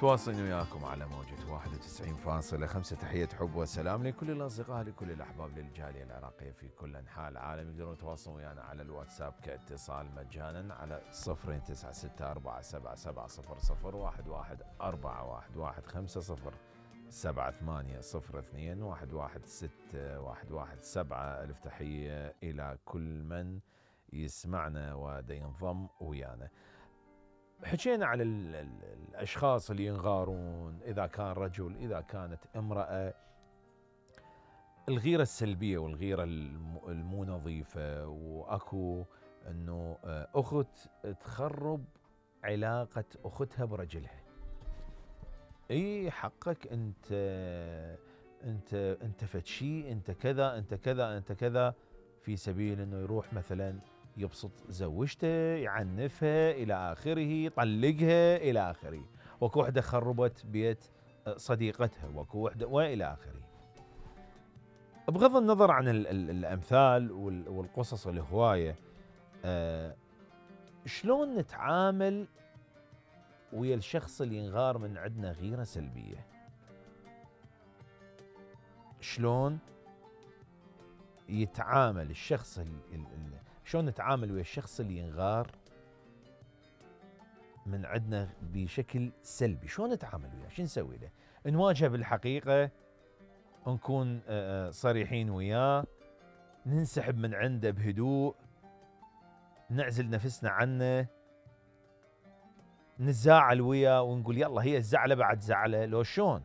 متواصلين وياكم على موجة 91.5. تحية حب وسلام لكل الأصدقاء لكل الأحباب للجالية العراقية في كل أنحاء العالم. يقدرون يتواصلون ويانا على الواتساب كاتصال مجانا على 09477750117. ألف تحية إلى كل من يسمعنا ودا ينضم ويانا. حكينا على الأشخاص اللي ينغارون، إذا كان رجل إذا كانت امرأة، الغيرة السلبية والغيرة المو نظيفة. وأكو أنه أخت تخرب علاقة أختها برجلها. إيه حقك أنت فتشي، أنت كذا أنت كذا أنت كذا، في سبيل أنه يروح مثلا يبسط زوجته، يعنفها إلى آخره، يطلقها إلى آخره. وكو وحدة خربت بيت صديقتها، وكو وحدة وإلى آخره. بغض النظر عن الأمثال والقصص الهواية، شلون نتعامل ويا الشخص اللي ينغار من عندنا غيرة سلبية؟ شلون يتعامل الشخص شلون نتعامل ويا الشخص اللي ينغار من عندنا بشكل سلبي؟ شلون نتعامل وياه؟ شو نسوي له؟ نواجهه بالحقيقة، نكون صريحين وياه، ننسحب من عنده بهدوء، نعزل نفسنا عنه، نزاعل وياه ونقول يلا هي الزعلة بعد زعلة، لو شلون؟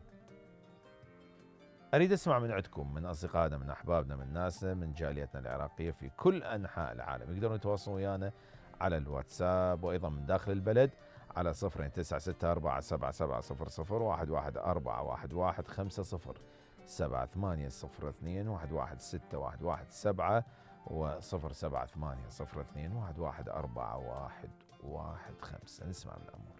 أريد أسمع من عندكم، من أصدقائنا، من أحبابنا، من ناسنا، من جاليتنا العراقية في كل أنحاء العالم. يقدرون يتواصلون ويانا على الواتساب، وأيضا من داخل البلد على 02964701150 و078021117 و07802111415. نسمع من الأمور.